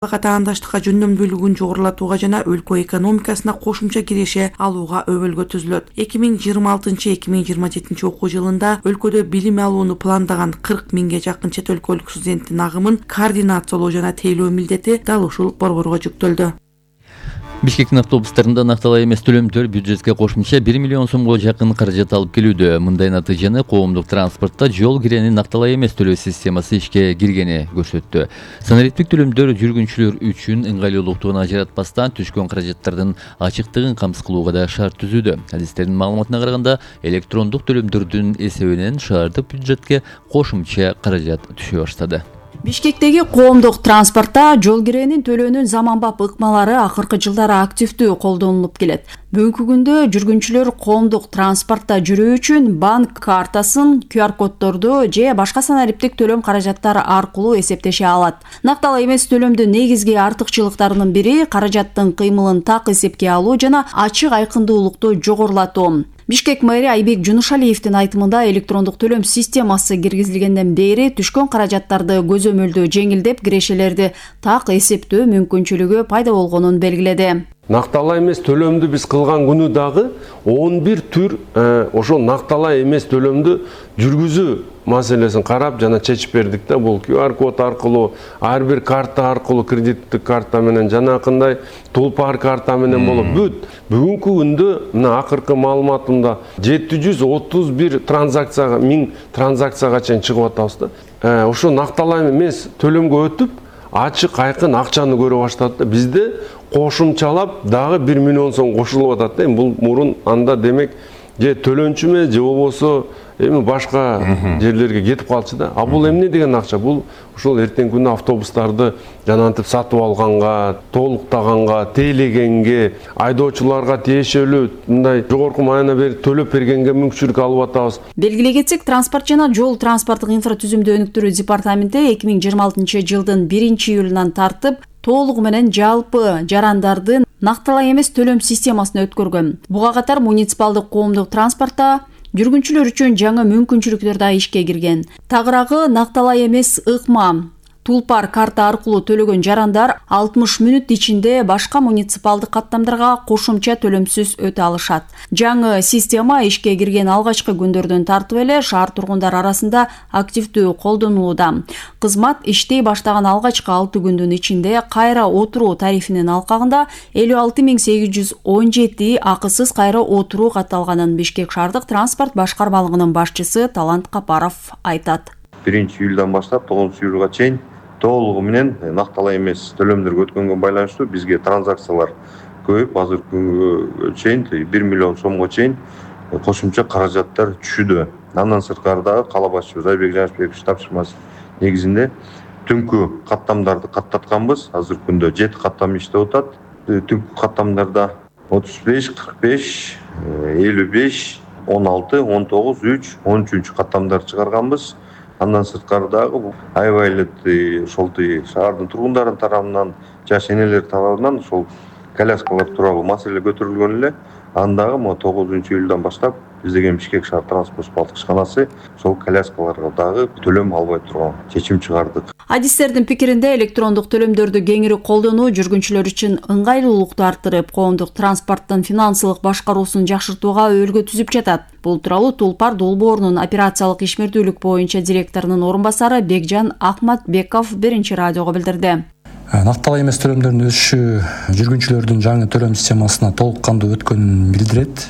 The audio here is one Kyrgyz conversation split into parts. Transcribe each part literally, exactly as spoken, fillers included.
Катаандаштыкка жөндөмдүүлүгүн жогорулатууга жана өлкө экономикасына кошумча киреше алууга өбөлгө түзүлөт. эки миң жыйырма алтынчы эки миң жыйырма жетинчи окуу жылында өлкөдө билим алууну пландаган кырк миңге жакын чет өлкөлүк студенттин агымын координациялоо жана тейлөө милдети дал ушул борборго жүктөлдү. Бишкектин автобустарында накталай эмес төлөмдөр бюджетке кошумча бир миллион сомго жакын каражат алып келүүдө. Мындай натыйжаны коомдук транспортто жол киренин накталай эмес төлөө системасы ишке киргени көрсөттү. Санариптик төлөмдөр жүргүнчүлөр үчүн ыңгайлуулуктун ажыратпастан түшкөн каражаттардын ачыктыгын камсыз кылууга да шарт түзүүдө. Адистердин маалыматына караганда, электрондук төлөмдөрдүн эсебинен шаардык бюджетке кошумча каражат түшө баштады. Бишкектеги коомдук транспортто жол киренин төлөөнүн заманбап ыкмалары акыркы жылдары активдүү колдонулуп келет. Бүгүнкү күндө жүргүнчүлөр коомдук транспортто жүрүү үчүн банк картасын, ку ар коддорду же башка санариптик төлөм каражаттары аркылуу эсептеше алат. Накталай эмес төлөмдүн негизги артыкчылыктарынын бири каражаттын кыймылын так эсепке алуу жана ачык айкындуулукту жогорулатуу. Бишкек мэри Айбек Жунушалиевдин айтымында электрондук төлөм системасы киргизилгенден бери түшкөн каражаттарды көзөмөлдөө жеңилдеп, кирешелерди так эсептөө мүмкүнчүлүгү пайда болгонун белгиледи. Накталай эмес төлөмдү биз кылган күнү дагы он бир түр ошол накталай эмес төлөмдү жүргүзүү маселесин карап жана чечип бердик да. Бул ку ар код аркылуу, ар бир карта аркылуу, кредиттик карта менен жанакындай тулпар карта менен болуп бүт. Бүгүнкү күндө мына акыркы маалыматымда жети жүз отуз бир транзакцияга, миң транзакцияга чейин чыгып атабыз да. Ошо накталай эмес төлөмгө өтүп, ачык айкын акчаны көрө баштады да. Бизде кошумчалап дагы бир миллион сом кошулуп атат да. Бул мурун анда демек же төлөнчү эмес, же болбосо эми башка жерлерге кетип калчу да. А бул эмне деген акча? Бул ушул эртеңки күнү автобустарды жанантип сатып алганга, толуктаганга, тейлегенге, айдоочуларга тиешелүү мындай жогорку маана берип төлөп бергенге мүмкүнчүлүк алып атабыз. Белгилей кетсек, транспорт жана жол транспорттук инфратүзүмдү өнүктүрүү департаменти эки миң жыйырма алтынчы жылдын биринчи июлунан тартып толугу менен жалпы жарандардын накталай эмес төлөм системасына өткөргөн. Буга катар муниципалдык коомдук транспортто жүргүнчүлөр үчүн жаңы мүмкүнчүлүктөр да ишке кирген. Тагыраагы накталай эмес ыкма тулпар карта аркылуу төлөгөн жарандар алтымыш мүнөт ичинде башка муниципалдык каттамдарга кошумча төлөмсүз өтө алышат. Жаңы система ишке кирген алгачкы күндөрдөн тартып эле шаар тургундар арасында активдүү колдонулууда. Кызмат иштей баштаган алгачкы алты күндүн ичинде кайра отуруу тарифинин алкагында элүү алты миң сегиз жүз он жети акысыз кайра отуруу катталганын Бишкек шаардык транспорт башкармалыгынын башчысы Талант Капаров айтат. биринчи июлдан баштап тогузунчу июлга чейин толугу менен накталай эмес төлөмдөргө өткөнгө байланыштуу бизге транзакциялар көбөйүп, азыркы күнгө чейин бир миллион сомго чейин кошумча каражаттар түшүүдө. Андан сырткары дагы кала башчыбыз Айбек Жанышбекович тапшырмасы негизинде түнкү каттамдарды каттатканбыз. Азыркы күндө жети каттам иштеп атат. Түнкү каттамдарда отуз беш, кырк беш, элүү беш, он алты, он тогуз, үч, он үчүнчү каттамдарды чыгарганбыз. Андан сырткары дагы аябай эле ошол шаардын тургундарынын тарабынан, жаш энелер тарабынан ошол коляскалар тууралуу маселе көтөрүлгөн эле. Андагы могу тогузунчу июлдан баштап биздеген Бишкек шаар транспорт балтык ишканасы ошол коляскаларга дагы төлөм албай турган чечим чыгардык. Адистердин пикиринде электрондук төлөмдөрдү кеңири колдонуу жүргүнчүлөр үчүн ыңгайлуулукту арттырып, коомдук транспорттун финансылык башкаруусун жакшыртууга өбөлгө түзүп жатат. Бул тууралуу Тулпар долбоорунун операциялык ишмердүүлүк боюнча директорунун орун басары Бекжан Акматбеков биринчи радиого билдирди. Накталай эмес төлөмдөрдүн өсүшү жүргүнчүлөрдүн жаңы төлөм системасына толук кандуу өткөнүн билдирет.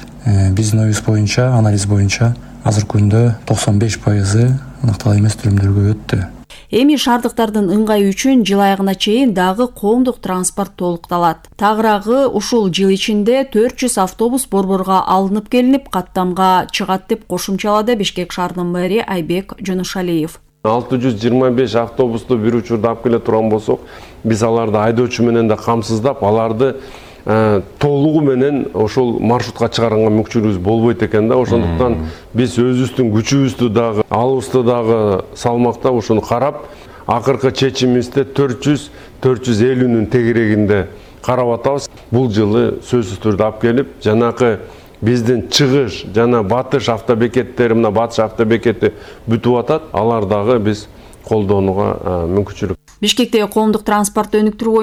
Биздин оюбуз боюнча, анализ боюнча азыркы күндө токсон беш пайызы накталай эмес төлөмдөргө өттү. Эми шаардыктардын ыңгайы үчүн жыл айыгына чейин дагы коомдук транспорт толукталат. Тагыраагы ушул жыл ичинде төрт жүз автобус борборго алынып келинип, каттамга чыгат деп кошумчалады Бишкек шаарынын мэри Айбек Жунушалиев. алты жүз жыйырма беш автобусту бир учурда алып келе турган болсок, биз аларды айдоочу менен да камсыздап, аларды толугу менен ошол маршрутка чыгарганга мүмкүнчүлүгүбүз болбойт экен да. Ошондуктан биз өзүбүздүн күчүбүздү дагы, алыбызды дагы салмактап ушуну карап, акыркы чечимибизде төрт жүз төрт жүз элүүнүн тегерегинде карап атабыз. Бул жылы сөзсүз түрдө алып келип, жанакы биздин чыгыш жана батыш автобекеттери, мына батыш автобекети бүтүп атат. Алар дагы биз колдонууга мүмкүнчүлүк Бишкектеги коомдук транспортты өнүктүрүү